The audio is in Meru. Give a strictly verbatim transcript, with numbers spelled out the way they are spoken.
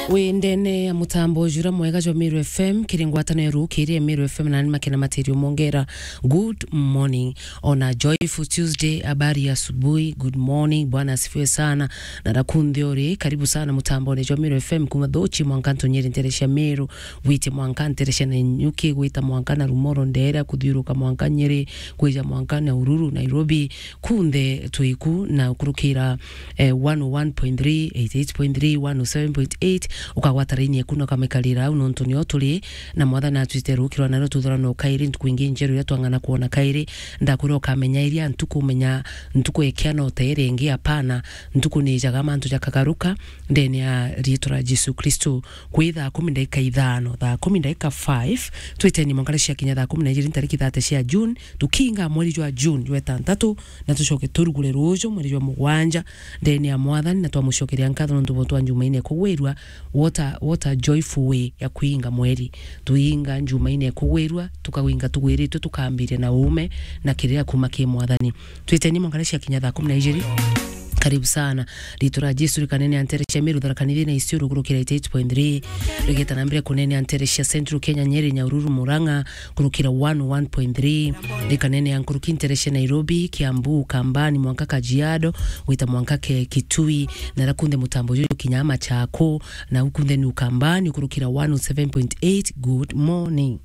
Wi ndene ya mutambo jura mwega jwa Meru F M, kiri ngwatano ya rukiri ya Meru F M, nani makena materio mongera. Good morning. Ona joyful Tuesday, habari ya asubuhi, good morning, Bwana asifiwe sana. Na rakunthi uri, karibu sana mutambone jwa Meru F M, kuma Thuchi mwanka Ntonyeri ntere cia Meru, gwite mwanka ntere cia Nanyuki, gwita mwanka na Rumoro, Ndera, kuthiuruka mwanka Nyeri, kwija mwanka Nyahururu, Nairobi, kunthe twiku na ukurukira eh, one oh one point three, eighty-eight point three, one oh seven point eight, ukagwata raini eku na ukamikarira au, nontu nio turi, na Mwathani atwite rukirwa nario tuthurano kairi, ntuku ingi njeru iria twang'ana kwona kairi. Ndakwira ukamenya iria ntuku, menya ntuku ekia no teere ingi, apana, ntuku ni ijaga mantu jakagaruka, ndene ya riitwa ria Jesu Kristo. Kwi thaa kumi ndaika ithano, thaa kumi ndaika five, twiteni mwanka cia kinya thaa kumi na ijiri ntariki thate cia June, tukinga mweri jwa June jwa itantatu, na tucoke turugure ruju mweri jwa mugwanja ndene ya Mwathani, na twamucokeria nkatho nontu bwa twa njumaine kugwirua. What a, what a joyful way ya kuinga mweri. Tuinga njumaine kugwirua, tukawinga tugwiritwe, tukambiria na uume na kirira kuma ki Mwathani. Twiteni mwanka cia kinya thaa kumi na ijiri. Karibu sana. Riitwa ria Jesu rikanene antere cia Meru, Tharaka Nithi na Isiolo kurukira eighty-eight point three. Rigeta na mbere kunene antere cia Central Kenya, Nyeri, Nyahururu, Murang'a, kurukira one oh one point three. Rikanene ya nkuruki ntere cia Nairobi, Kiambu, Ukambani, mwanka Kajiado, gwita mwanka ke Kitui, na rakunde mutambo juju kinya Machako, na ukunde ni Ukambani kurukira one oh seven point eight. Good morning.